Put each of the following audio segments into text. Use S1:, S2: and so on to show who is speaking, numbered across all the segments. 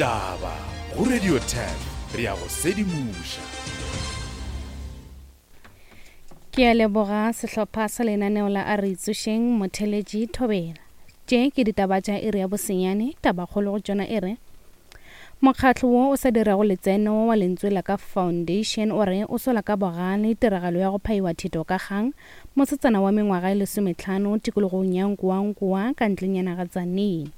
S1: Ditaba go Radio 10 re a go sedimoša.
S2: Ke a leboga sehlopha sa lenaneo la A Re Itsošeng Motheletši Thobela. Tše ke ditaba tša iri ya bosenyane, tabakgolo go tšona e re, Mokgatlo wo o sa dirago letseno wa Lentswe la Ka Foundation o re o sola ka bogale tiragalo ya go phaiwa thito ka kgang mosetsana wa mengwaga e lesometlhano tikologong ya Nkoankoa ka ntlenyana ga Tzaneen.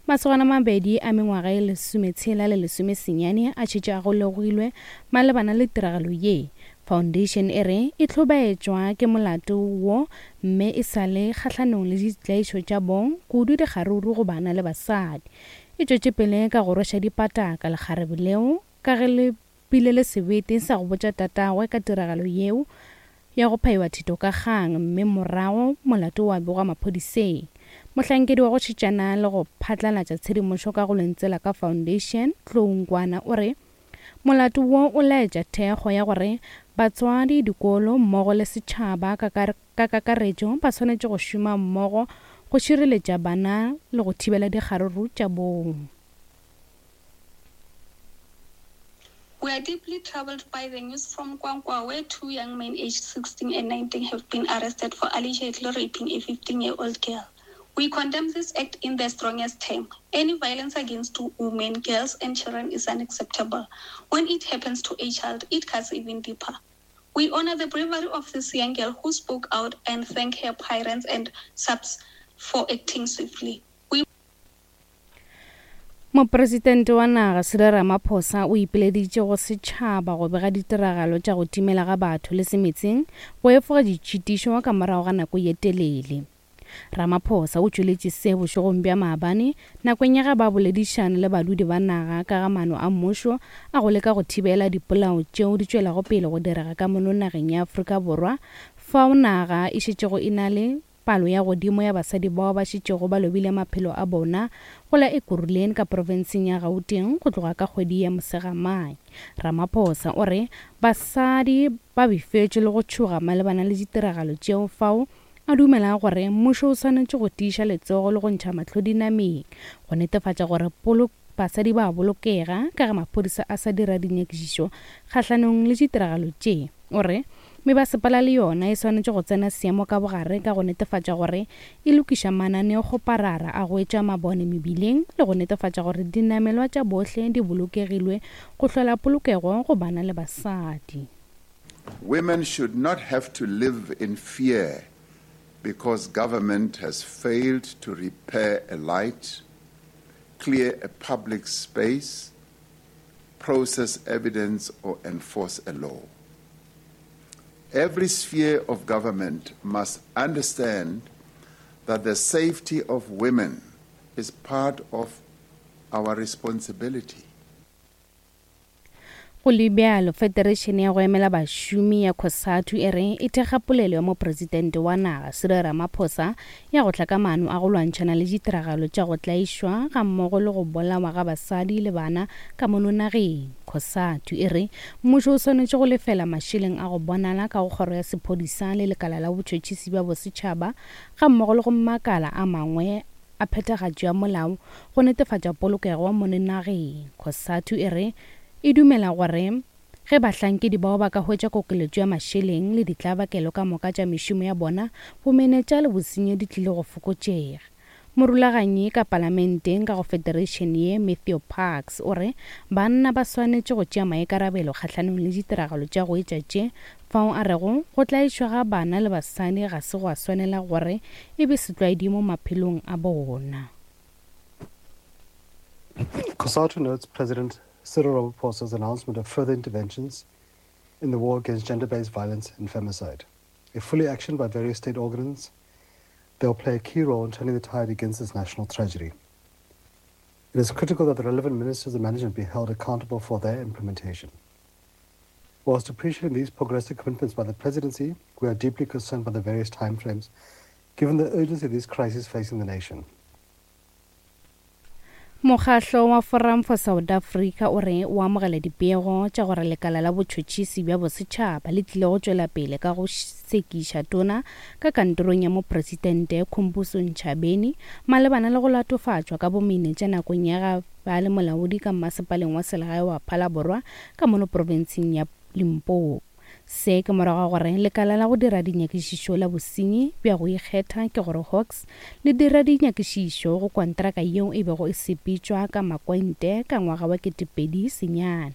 S2: Masogana a mabedi a mengwaga e lesometshela le lesomesenyane a šetše a golegilwe malebana le tiragalo ye. Foundation e re e hlobaetšwa ke molato wo mme e sa le kgahlanong le ditlaišo tša bong, kudu dikgaruru go bana le basadi. E tšwetše pele ka go rweša dipataka lekgarebe leo ka ge le bile le sebete sa go botša tatagwe ka tiragalo yeo ya go phaiwa thito ka kgang mme morago molato wa begwa maphodiseng. Mohlankedi wa go šetšana le go phatlalatša tshedimošo ka go Lentswe Ka Foundation, Tlou Nkwana o re molato wo o laetša thekgo ya gore batswadi, dikolo mmogo le setšhaba ka Ka kakaretšo, ba swanetše go šoma mmogo go šireletša bana le go thibela dikgaruru tša bong.
S3: We are deeply troubled by the news from Kwankwa where two young men aged 16 and 19 have been arrested for allegedly raping a 15-year-old girl. We condemn this act in the strongest term. Any violence against women, girls and children is unacceptable. When it happens to a child, it cuts even deeper. We honor the bravery of this young girl who spoke out and thank her parents and subs for acting swiftly. We
S2: Mopresidente wa naga Cyril Ramaphosa o ipileditše go setšhaba go bega ditiragalo tša go timela ga batho le semetseng go efoga ditšhitišo ka morago ga nako ye telele. Ramaphosa o tšweletše se bošegong bja maabane nakong ya ge ba boledišana le badudi ba naga ka ga maano a mmušo a go leka go thibela dipolao tšeo di tšwelago pele go direga ka mono nageng ya Afrika Borwa fao naga e šetšego e na le palo ya godimo ya basadi bao ba šetšego ba lobile maphelo a bona go la Ekurhuleni ka profenseng ya Gauteng go tloga ka kgwedi ya Mosegamanye. Ramaphosa o re basadi ba befetšwe le go tšhoga malebana le ditiragalo tšeo fao A dumela gore mmušo o swanetše go tiiša letsogo le go ntšha mahlo dinameng go netefatša gore basadi ba a bolokega ka ge maphodisa a sa dira dinyakišišo kgahlanong le ditiragalo tše. O re mebasepala le yona e swanetše go tsena seemo ka bogare ka go netefatša gore e lokiša mananeokgoparara a go etša mabone mebileng le go netefatša gore dinamelwa tša bohle di bolokegilwe go hlola polokego go bana le basadi.
S4: Women should not have to live in fear because government has failed to repair a light, clear a public space, process evidence, or enforce a law. Every sphere of government must understand that the safety of women is part of our responsibility.
S2: Go le bjalo, Federeišene ya go emela bašomi ya Cosatu e re e thekga polelo ya Mopresidente wa naga Cyril Ramaphosa ya go tla ka maano a go lwantšhana le ditiragalo tša go tlaišwa gammogo le go bolawa ga basadi le bana ka mono nageng. Cosatu e re mmušo o swanetše go lefela mašeleng a go bonala ka go kgoro ya sephodisa le lekala la botšhotšhisi bja bosetšhaba gammogo le go makala a mangwe a phethagatšo ya molao go netefatša polokego mono nageng. Cosatu e re e dumela gore ge bahlankedi bao ba ka hwetša kokeletšo ya mašeleng le ditlabakelo ka moka tša mešomo ya bona, bomenetša le bosenyi di tlile go fokotšega. Morulaganyi ka palamenteng ka go federation ye, Matthew Parks, o re banna ba swanetše go tšea maikarabelo kgahlanong le ditiragalo tša go etša tše Fao a rego, Go tlaišwa ga bana le basadi ga se gwa swanela gore e be setlwaedi mo maphelong a bona.
S5: COSATU notes President Cyril Ramaphosa's announcement of further interventions in the war against gender-based violence and femicide. If fully actioned by various state organs, they'll play a key role in turning the tide against this national tragedy. It is critical that the relevant ministers of management be held accountable for their implementation. Whilst appreciating these progressive commitments by the presidency, we are deeply concerned by the various timeframes, given the urgency of these crises facing the nation.
S2: Mokgahlo wa Forum for South Africa o re o amogela dipego tša gore lekala la botšhotšhisi bja bosetšhaba le tlile go tšwela pele ka go sekiša tona ka kantorong ya mopresidente Khumbudzo Ntshavheni malebana le go latofatšwa ka bomenetša nakong ya ga ba le molaodi ka mmasepaleng wa selegae wa Phalaborwa ka mono profenseng ya Limpopo. Se ke morago ga gore lekala la go dira dinyakišišo la bosenyi bja go ikgetha, ke gore Hawks, le dira dinyakišišo go kontraka yeo e bego e sepetšwa ka makwente ka ngwaga wa 2009.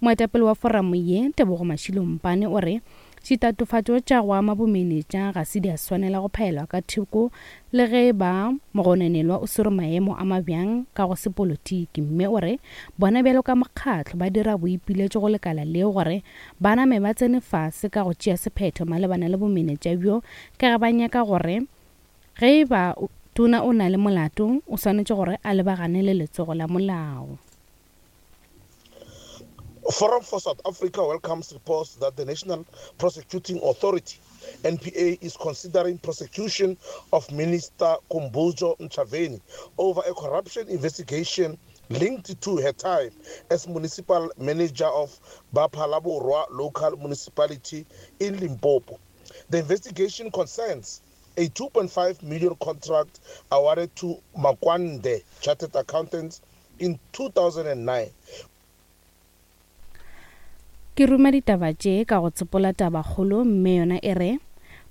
S2: Moetapele wa foramo ye, Tebogo Mashilo Mpane o re ditatofatšo tša go ama bomenetša ga se di a swanela go phaelwa ka thoko le ge e ba mogononelwa o swere maemo a mabjang ka go sepolotiki mme o re bona bjalo ka mokgatlo ba dira boipiletšo go lekala leo gore ba name ba tsene fase ka go tšea sephetho malebana le bomenetša bjo ka ge ba nyaka gore ge e ba tona o na le molato o swanetše gore a lebagane le letsogo la molao.
S6: Forum for South Africa welcomes reports that the National Prosecuting Authority, NPA, is considering prosecution of Minister Khumbudzo Ntshavheni over a corruption investigation linked to her time as municipal manager of Ba-Phalaborwa local municipality in Limpopo. The investigation concerns a 2.5 million contract awarded to Makwande Chartered Accountants in 2009.
S2: Ke ruma ditaba tše ka go tsopola tabakgolo mme yona e re,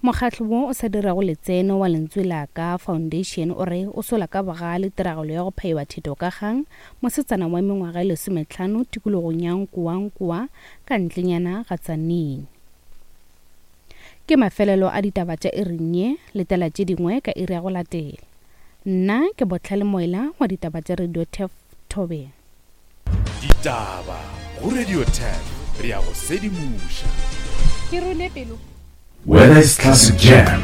S2: Mokgatlo wo o sa dirago letseno wa Lentswe la Ka Foundation o re o sola ka bogale tiragalo ya go phaiwa theto ka kgang mosetsana wa mengwaga e lesometlhano tikologong ya Nkowankowa ka ntlenyana ga Tzaneen. Ke mafelelo a ditaba tša iring ye, letela tše dingwe ka iri ya go latela. Nna ke Bohlale Moela wa ditaba tša Radio Turf Thobela.
S1: Ditaba go Radio Turf, re a go sedimoša.
S7: Ke rune pelo.
S1: Whether it's classic jam.